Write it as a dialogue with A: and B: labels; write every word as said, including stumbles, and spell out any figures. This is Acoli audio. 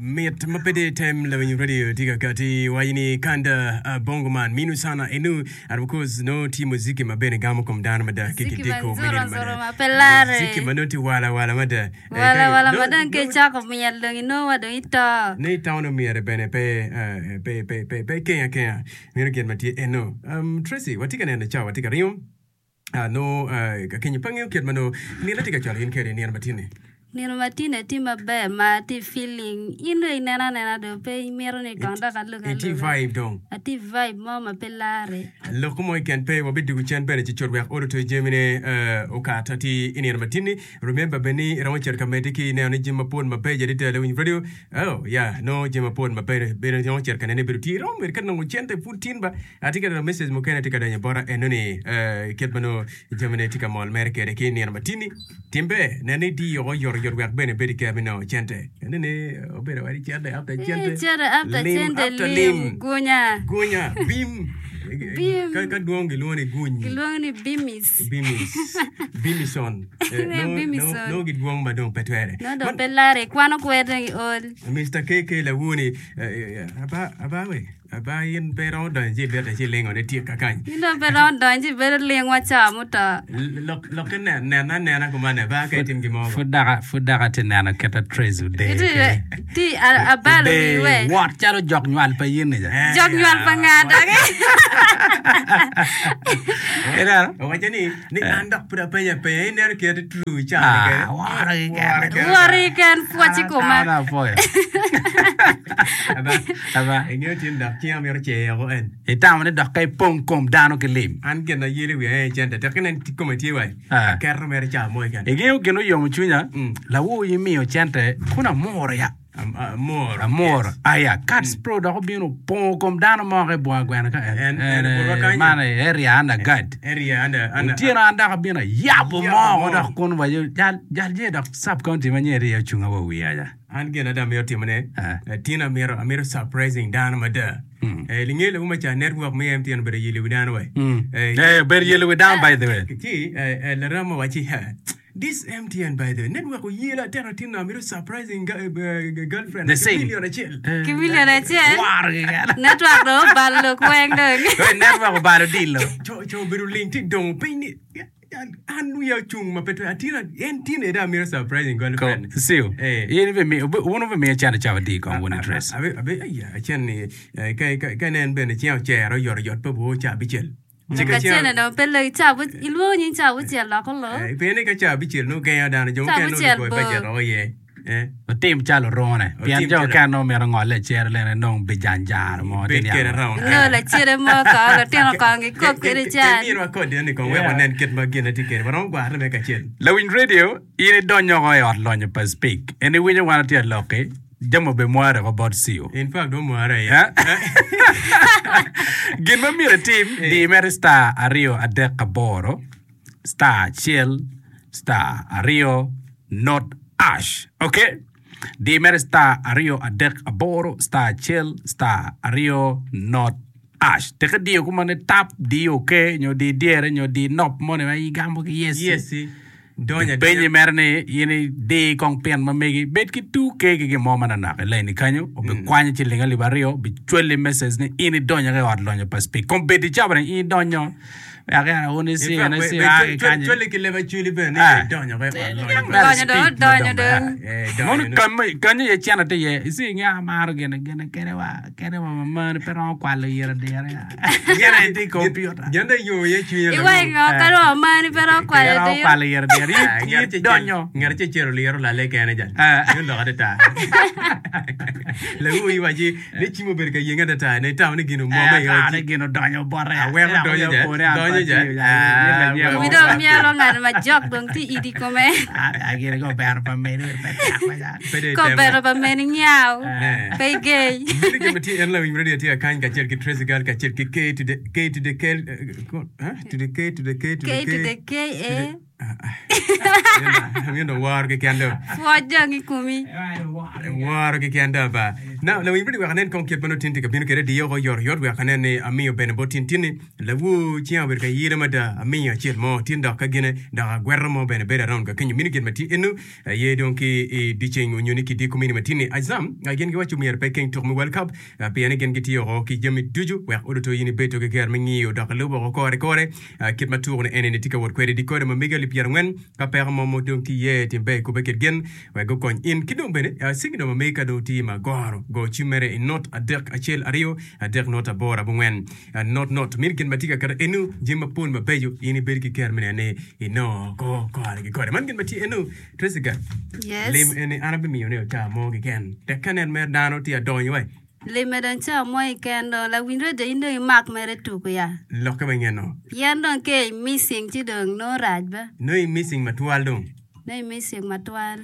A: Mit ma pe tye tem lawiny radio tye ka kati waco ni kanda uh, bongo man minu sana enu and of course no tye muziki ma bene gamo kom dano mada ki
B: Muziki
A: kidiko
B: ma
A: me nino
B: nzuro nzuro
A: mada
B: ma pe lare.
A: muziki ma nongo tye wala wala mada Eh,
B: Wala
A: ka-
B: wala
A: no-
B: ma dong
A: no-
B: ka icako myel dong inongo wa dong ito.
A: ni town omyere bene pe eh, pe pe pe pe keng akenga meno gin ma tye eno um, Tracy watye ka neno cawa tye ka ringo uh, no uh, akenyo pe angeyo kit ma no nino tye ka cwalo in kede nino matini
B: Nino ma tine tye maber ma atye feeling in dong ineno anena dong pe imito ni kong dok alug
A: itye
B: aluga.
A: vibe dong
B: Atye vibe mo ma pe lare.
A: Lok mo keken pe wabidwogo cen bene ci cut wek olo to jamine uh, okat ati i nino matini remember bene ni iromo cito ka medde ki neno ni jami mapol mabeco adada lawiny radio oh yeah no jami mapol mabeco bene iromo cito ka nene bedo tye iromo bedo ka nongo cente pud tin ba atye ka neno message mukene tye ka donyo bota eno ni uh, kit ma nongo jamine tye ka mol mere kede ki i nino matini timbe nen ni diyo oyotoyot wek bene ibed ki me nongo cente ene ni obedo wadi cente after
B: Eh,
A: cente
B: Cente after
A: lim
B: cente
A: after
B: lim
A: lim
B: gunya.
A: gunya bim
B: Bim.
A: ka ka dwong gilwongo ni guny
B: Gilwongo ni bimis.
A: bimis bimison Eh,
B: Ne,
A: no no
B: bimison.
A: no gidwong ma dong pe twere
B: No dong
A: Man-
B: pe lare ikwano kwer dong iol.
A: Mr. KK lawuni eh, eh, aba aba we aba in pe romo donyo ci ibete ci ilingo ne tye kakany
B: In dong pe romo donyo ci ibedo ling wa ca muto.
A: lok lokke nen nena anena kumane ba ka itim gimo
C: Pud dok pud dok atye neno kit Tracy Odee
B: Iti
C: kede.
B: ti a- abalo
C: Odee
B: wi we.
C: wot calo jok nywal pa in ni ja.
B: Jok nywal pa nga doki.
C: Ineno?
A: Owaco ni ni an dok pud apenyo apenya ineno kit true cani
C: Ah,
A: kede
C: woro keken.
A: Woro keken.
B: Wori ken pwoc i koma.
C: An apwoyo.
A: Aba
C: Aba.
A: ingeyo tin dok cinga mito cero en
C: Itamo ni dok ka ipong kom dano ki lim.
A: an gin ayelo wiya en cente tek inen kome tye wa
C: Ah.
A: aketo mere ca mo keken
C: Ingeyo gin oyomo cwinya,
A: Mm.
C: lawo imiyo cente kun amuro ya.
A: Am- amoro
C: Amuro.
A: Yes.
C: Aya, Cats Pro dok obino opongo kom dano moko i bunga gweno ka en.
A: En- en obuto kanyo.
C: Man area under guard.
A: area under under
C: Otyeno an dok abino ayabo
A: Yabo
C: mo
A: mo.
C: dok kun waco jal jal je dok sub county ma nyeri iye ocunga wa wiya ja.
A: an gin ada amito timone
C: Ah.
A: eh, tin amito amito surprising dano mada
C: Mm.
A: Eh, linge lawu maca network me MTN obedo yelo wi dano we
C: Mm.
A: Eh,
C: Eh, bedo yelo wi dano by the way.
A: ci eh, eh, larama waci "Ha, this MTN by the way network oyelo atero tin amito surprising ga- eh, eh, girlfriend
C: The
A: ki
C: same.
A: million acel
C: Eh,
B: Ki million acel.
C: Woro keken.
B: Network dong obalo lok weng dong.
C: Eh, Network obalo dilo.
A: co co obedo ling ti dongo piny ni an wiya ocung ma pe twero atin en tin eda amito surprising
C: Ko,
A: girlfriend
C: siu.
A: Eh.
C: In ibe mi wun ube miyo cente cawa di kong wun interest.
A: Abe abe aya acen ni eh, ka ka ka nen bene ceng ocero oyotoyot pe bo ca abicel Ci ka
B: Ka
A: ceng-
B: cene dong pe lok ca abu- ilwongo nying ca abucel dok olo.
A: Eh, pien ni ka ca abicel nongo gengo dano jo
B: Ca
A: mukene nongo
B: abucel
A: lugoyo
B: bor.
A: bajet oko iye Eh,
C: Otim calo orone. Pien
A: Otim
C: jo
A: calo-
C: okene nongo mito ngole cere lene nongo bijanjaro mo.
A: bed
C: ti
A: kede
C: niang.
A: round
B: Inongo lacere mo ko lutino kong gikop kwede can.
A: Kemiro akod ni kong wek
C: Yeah.
A: wanen kit ma gin tye kede waromo gwarre me kacel
C: Lawiny radio, in idonyo oko i ot lonyo pa Speak. En iwinyo wan atye aloki, jami obe mware ko bot siu.
A: in fact dong mware iye
C: Eh? Gin ma myero itim, di mere star aryo adek aboro, star acel, star aryo, not ash. Okay? Di mere star aryo adek aboro, star acel, star aryo, not ash. Teke diyo kuma ni tap, di okay, nyo di dyere, nyo di nop moni ma igambo ki yes.
A: yes donyo
C: Penyi
A: adonya
C: mere ni in idi kong pin ma megi bed ki two K ki gin mo mananok i laini kanyo obikwanyo ciling alip aryo obicwali message ni in idonyo ki i ot lonyo pa Speak kom bedi cawa ni in idonyo wek en wun
A: In
C: isi
A: fact,
C: en
A: we-
C: isi
A: we-
C: a ki
A: cwal-
C: kanyo
A: cwali ki leb acwali bene ni
C: Ah.
A: idonyo ki i ot lonyo pa
C: Mere
B: Donyo dong,
C: Speak
B: donyo
C: madong
B: dong.
C: ber.
A: Eh, donyo
C: Mono
A: dong.
C: kanyo kanyo iye cene tye iye isi inge amaro gine gine kede wa kede wa mamani pe romo kwalo yire dire gine aye tye i kompiuta
A: Gin dong yo iye cwinye
B: Iwa ingo ka dong amani pe romo kwalo
C: Pe romo
B: diro.
C: kwalo yire dire
A: Ah,
C: In-
A: ngat
C: in
A: acel-
C: idonyo
A: ngat acel cero liro lale kene jal
C: Ah.
A: Yo lok adada lawu iwaci ni cim obedo ka yenge adada ne itamo ni gin omwom
C: Eh,
A: iye
C: atare gin odonyo bote.
A: Aweko
C: Ena
A: donyo
C: oyo
A: ja,
C: pore an
A: donyo
C: pa
A: ja.
C: tiyo ja.
A: Ah,
C: Yin lanyemo.
B: Wi dong myelo ngat ma jok dong tye idi kome.
C: Ah, ah, gin ko bero pa meni, pe tek ma ja.
A: Pe dong
B: Ko
A: itemo.
B: bero pa meni nyaw.
A: Eh.
B: Pe igey.
A: Meno gin ma tye en lawiny radio tye akany kacel ki Tracy Girl kacel ki K to the K to the K eh, ko- huh? to the K to the K to the
B: K to the
A: K
B: K A
A: Amiyo dong woro keken do.
B: Pwoc dong i komi.
A: Woro keken do ba. Now, lawiny bene wek anen kong kit ma nongo tin tye ka bino kwede diyo oko oyotoyot wek anen ni amiyo bene bot tin tin-ni. Lawor cinga obedo ka yelo mada amiyo acel mo tin dok ka gine dok agweto mo bene bedo around ka kenyo mini gin ma tye eno aye dong ki i dyeceng onyo ni ki dye komini ma tin-ni. Azam gin giwaco myero pe keng tuko me World Cup pien ni gin gitiyo oko ki jami ducu wek odoto in ibedo ki ger me ngiyo dok ilubo oko kore kore kit ma tuko ni eni ni tye ka wot kwede di kode ma mege alip pyerangwen ka peko mo ma dong tye iye tim ber ikubbe kit gin wek gukony in ki dong bene signal ma megi ka dong tye ma goro go cim mere i not adek acel aryo adek not aboro abongwen not not mini gin ma tye ka keto enu jami mapol mabeco in ibedo ki ker me neno ni inongo ko kore ki kore man gin ma tye enu Tracy Gat
B: Yes.
A: lim eni an abimiyo ni ota mo keken tek ka nen mere dano tye adonyo wai
B: Lime dong ca mo keken dong lawiny radio in dong imak mere tuko ya.
A: Lokke ma ingeno.
B: Pien dong ke i missing ci dong nongo rac ba.
A: Nongo i missing matwal dong.
B: Nongo i missing matwal.